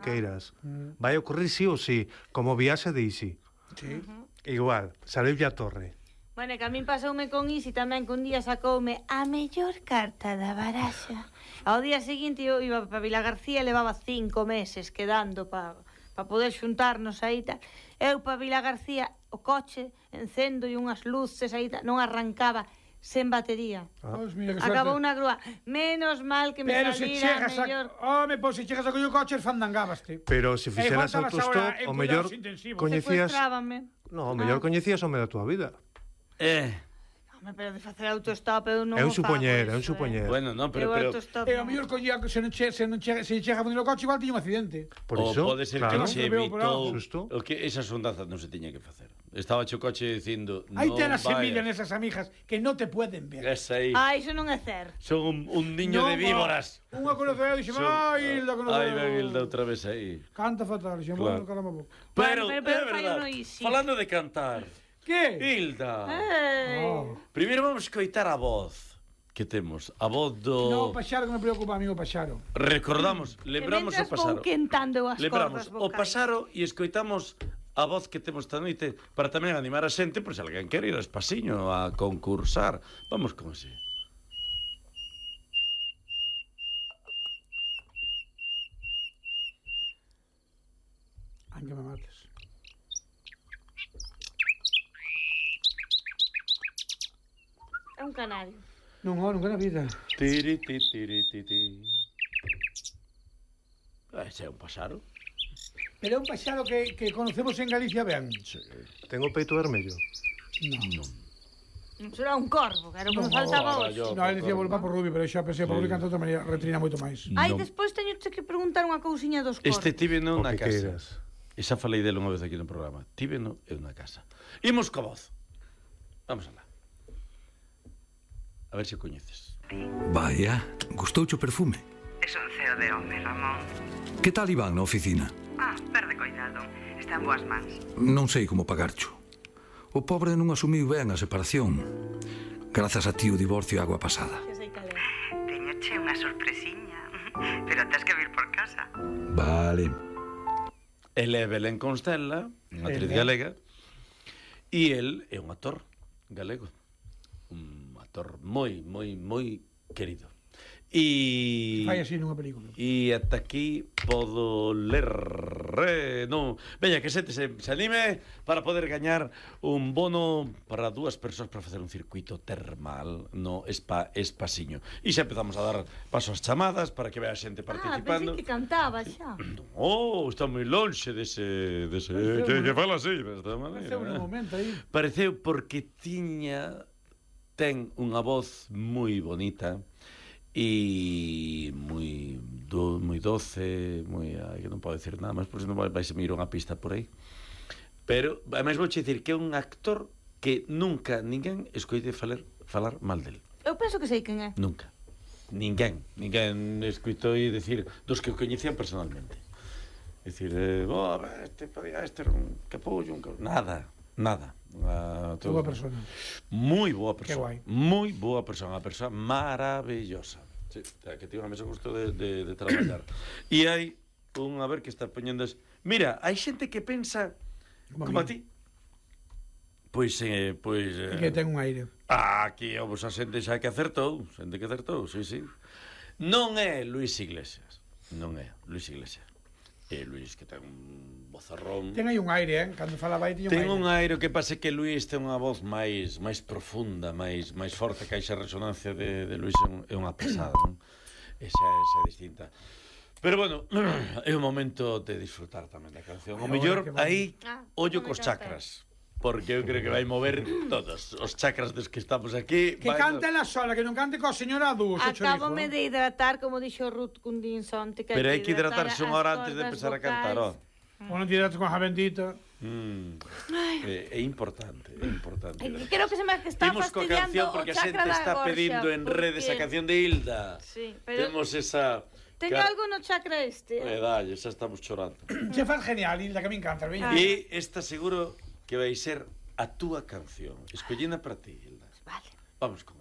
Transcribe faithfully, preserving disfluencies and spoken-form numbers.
queiras. Vai ocurrir sí ou sí, como viaxe de Isi. Sí. Igual, saleulle a torre. Bueno, que a min pasoume con Isi tamén, que un día sacoume a mellor carta da baraxa. Ao día seguinte eu iba para Vila García e levaba cinco meses quedando para pa poder xuntarnos aí tal. Eu para Vila García, o coche, encendo e unhas luces aí tal, non arrancaba sen batería. Ah. Pues mira, que Acabou suerte. unha grúa. Menos mal que me Pero se salira chegas a... mellor... Home, pois se chegas a coller o coche, fandangábaste. Pero se fixeras E faltabas autostop, ahora en o mellor cuidados intensivos. coñecías... Secuestrábame. No, o mellor Ah. coñecías o me da túa vida. Eh, Home, pero de facer autostop eu non É un o fago supoñer, é un eso, supoñer. bueno, non, Eu pero, pero autostop E ao non. mellor coñía, se non che, se non che, se chega a poner o coche, igual tiña un accidente. Por o iso, pode ser claro. que che Non veo por evitou Xusto. o que esa sondaza non se tiña que facer. Estaba che o coche dicindo, Aí non ten as vayas. semillas nesas amigas que non te pueden ver. Esa aí. Ah, iso non é certo. Son un, un niño Non, de víboras. Unha conoceu e dixo, Son- ai, Hilda, conoceu. Ai, ven Hilda outra vez aí. Canta fatal, dixo, Claro. bueno, caramba boca. Pero, Bueno, pero- pero é fai verdad, uno easy. falando de cantar, Que? Hilda, Ei. Oh. primeiro vamos coitar a voz que temos, a voz do... No, o Paxaro que me preocupa, amigo Paxaro. Recordamos, E lembramos o mentras pasaro. vou quentando as Lembramos cordas o vocais. pasaro e escoitamos a voz que temos esta noite para tamén animar a xente, por se alguén quere ir a Espasiño a concursar. Vamos con ese. Ai, que me mates. É un canario. Non, oh, nunca na vida. Tiri, ti, tiri, ti, ti. Ah, ese é un pasaro. Pero é un Paxaro que, que conocemos en Galicia ben. Ten o peito vermello. Non. Non será un corvo, que era o que me No, faltaba ahora hoxe. yo- No, ele dicía volva por Rubio, pero xa pensei por Sí. Rubio canta de outra maneira, retrina moito máis. Ai, Non. despois teño que preguntar unha cousiña dos corvos. Este tive O nunha que casa. queiras. E xa falei dele unha vez aquí no programa. Tive no en unha casa. Imos coa voz. Vamos alá. A ver se o coñeces. Vaya, gustouche o perfume. Es un ceo de home, Ramón. Que tal Iván na oficina? Ah, perde coidado. Está en boas mans. Non sei como pagarcho. O pobre non asumiu ben a separación. Grazas a ti o divorcio e agua pasada. Xa sei cal é. Teñoche unha sorpresiña. Pero tes que vir por casa. Vale. Ele é Belén Constela, unha actriz Ele. galega, e el é un actor galego. Un actor moi, moi, moi querido. E... Fai así nunha película. E ata aquí podo ler eh, non. Veña, que xente se, se anime para poder gañar un bono para dúas persoas para facer un circuito termal no Spa Espasiño. E xa empezamos a dar paso ás chamadas para que vea a xente Ah, participando. pensei que cantaba xa. Oh, está moi lonxe dese... dese Pareceu que, un- que fala así, desta maneira. Pareceu un momento aí. Pareceu porque tiña... ten unha voz moi bonita e moi do, moi doce, moi, ai, que non podo decir nada máis, porque senón vai se me ir unha pista por aí. Pero, ademais, vou dicir que é un actor que nunca ninguén escoite falar, falar mal del. Eu penso que sei quen é. Nunca. Ninguén. Ninguén escoitou e decir dos que o coñecían personalmente. Decir, eh, oh, este podía, este era un capullo, un capullo. Nada, nada. Uh, Boa persona. Moi boa persona. guai. Moi boa persona, unha persona maravillosa. Sí, que tivo a mesma gusto de, de, de traballar. E hai un, a ver, que está poñendo... Es... Mira, hai xente que pensa Como a como a mí. ti. Pois, eh, pois... E Eh, que ten un aire. Ah, aquí vos a xente xa que acertou, xente que acertou, sí, sí. Non é Luis Iglesias, non é Luis Iglesias. É Luis que ten un vozarrón. Ten aí un aire, eh? Cando falaba aí tiña un Ten aire. un aire, o que pasa é que Luis ten unha voz máis máis profunda, máis máis forte, que a esa resonancia de, de Luis é, un, é unha pasada, non? Esa, esa é distinta. Pero bueno, é o momento de disfrutar tamén da canción. O Ai, mellor ahora que aí Ah, ollo non me cos canta. chakras. Porque eu creo que vai mover todos os chakras dos que estamos aquí. Que vai- cante la sola, que non cante coa señora Adu, xe Acábame chorizo. de hidratar, como dixo Ruth Cundinson. Pero hai que hidratarse unha hora antes de empezar a cantar, ó. O non te hidrates con a bendita. Mm. É, é importante, é importante. Creo que se me está Imos coa fastidiando canción o porque a chakra xente da está gorxa, pedindo en redes a porque- canción de Hilda. Sí, pero Temos esa... teño Car- algo no chakra este. Eh, dalle, xa estamos chorando. Che faz genial, Hilda, que me encanta, veña. E esta seguro que vai ser a túa canción. Escollina para ti, Hilda. Vale. Vamos con